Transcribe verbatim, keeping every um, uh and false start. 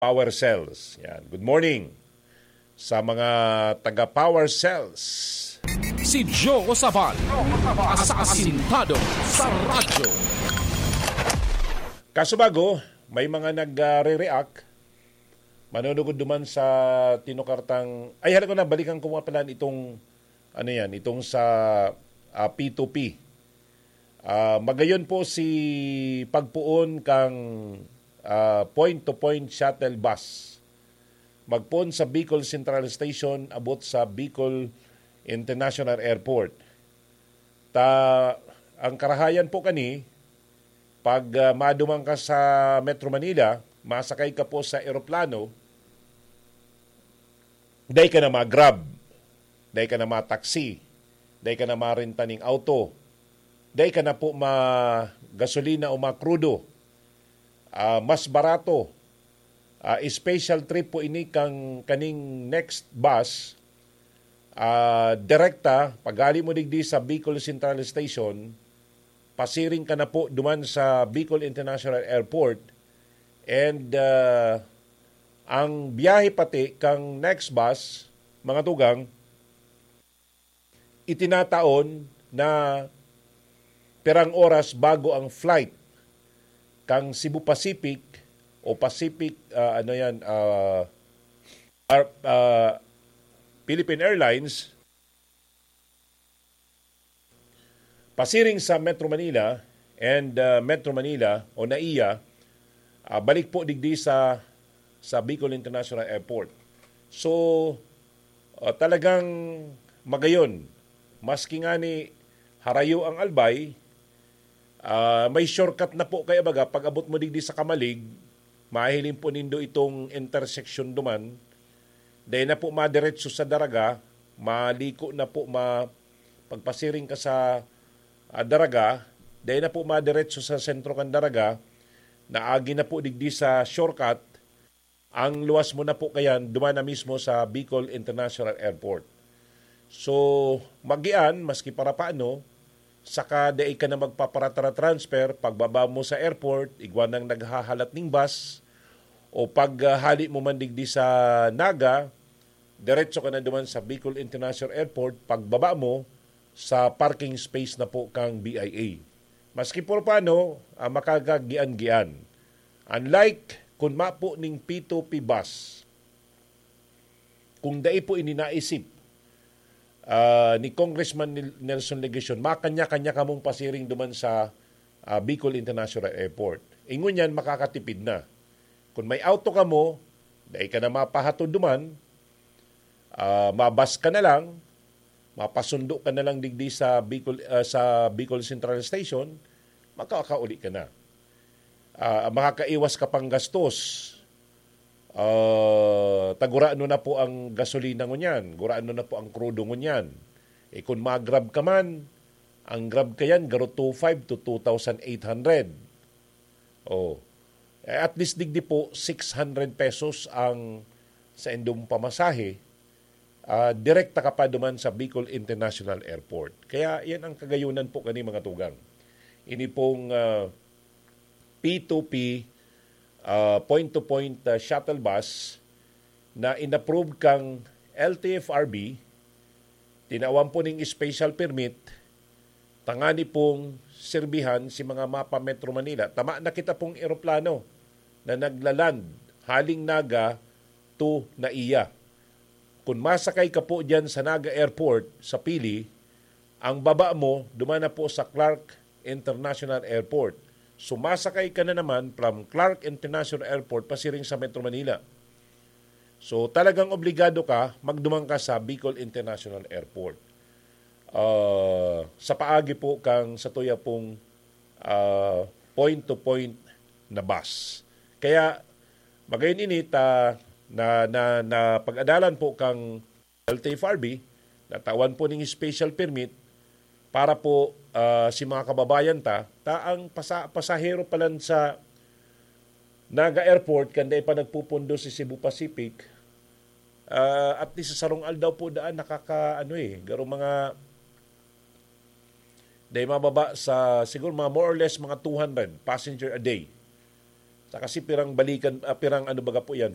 Power Cells. Yan. Good morning sa mga taga Power Cells. Si Joe Sabal, asasintado sa radyo. Kaso bago, may mga nagre-react. Manunugod duman sa tinukartang, ay, hala ko na, balikan ko nga pala itong, ano yan, itong sa ah, P two P. Ah, magayon po si pagpoon kang ah, point-to-point shuttle bus. Magpoon sa Bicol Central Station, abot sa Bicol International Airport. Ta, ang karahayan po kani, pag ah, maduman ka sa Metro Manila, masakay ka po sa eroplano, dai ka na ma-Grab, dai ka na ma-taxi, dai ka na marenta ning auto, dai ka na po ma-gasolina o ma-krudo. Ah, mas barato. Ah, special trip po ini kang kaning next bus. Ah, direkta, paghali mo digdi sa Bicol Central Station, pasiring ka na po duman sa Bicol International Airport. And ah, ang biyahe pati kang next bus, mga tugang, itinataon na pirang oras bago ang flight kang Cebu Pacific o Pacific, ah, ano yan, ah, ar- ah, Philippine Airlines, pasiring sa Metro Manila and ah, Metro Manila o NAIA, ah, balik po digdi sa sa Bicol International Airport. So, ah, talagang magayon, maski nga ni harayo ang Albay, ah, may shortcut na po kaya baga, pag abot mo digdi sa Camalig, mahiling po nindo itong intersection duman, dai na po madiretso sa Daraga, maliko na po, ma, pagpasiring ka sa ah, Daraga, dai na po madiretso sa sentro kan Daraga, naagi na po digdi sa shortcut, ang luwas mo na po kayan, duman na mismo sa Bicol International Airport. So, magian, maski para paano, saka dai ka na magpaparatara-transfer, pagbaba mo sa airport, igwa nang naghahalat ning bus, o pag ah, hali mo man digdi sa Naga, diretso ka na duman sa Bicol International Airport, pagbaba mo, sa parking space na po kang B I A. Maski por paano, ah, makakagian-gian. Unlike kun mapo ning P two P bus, kung dai po ini naisip ah, ni Congressman Nel- Nelson Legacion, makanya-kanya kamong pasiring duman sa ah, Bicol International Airport. Ingon yan, makakatipid na. Kung may auto kamo, dai ka na mapahatod duman, ah, mabas ka na lang, mapasundo ka na lang digdi sa Bicol, ah, sa Bicol Central Station, makakauli ka na. Ah, makakaiwas ka pang gastos. Ah, ta gurano na po ang gasolina ngunyan, gurano na po ang krudo ngunyan. E kun mag-Grab ka man, ang Grab kayan garo two five to two thousand eight hundred. Oh. Eh, at least digdi po six hundred pesos ang sa indong pamasahe, ah, direkta ka pa duman sa Bicol International Airport. Kaya yan ang kagayunan po kani, mga tugang. Ini pong ah, P two P, ah, point-to-point ah, shuttle bus na inapprove kang L T F R B, tinawan po ning special permit, tangani pong sirbihan si mga mapa Metro Manila. Tama na kita pong eroplano na naglaland haling Naga to NAIA. Kung masakay ka po dyan sa Naga Airport sa Pili, ang baba mo, duman na po sa Clark International Airport. Sumasakay ka na naman from Clark International Airport pasiring sa Metro Manila. So, talagang obligado ka, magduman ka sa Bicol International Airport. Ah, sa paagi po kang sa tuya pong ah, point-to-point na bus. Kaya, magayon ini ta na, na, na pag-adalan po kang L T F R B, natawan po ning special permit para po ah, si mga kababayan ta, ta ang pasa, pasahero pa lang sa Naga Airport, kanday pa nagpupundo si Cebu Pacific, ah, at least sa sarong aldaw po daan, nakaka, ano eh, garo mga, dai mababa sa, siguro mga more or less mga two hundred passenger a day. Sa kasi pirang balikan, ah, pirang ano baga po yan,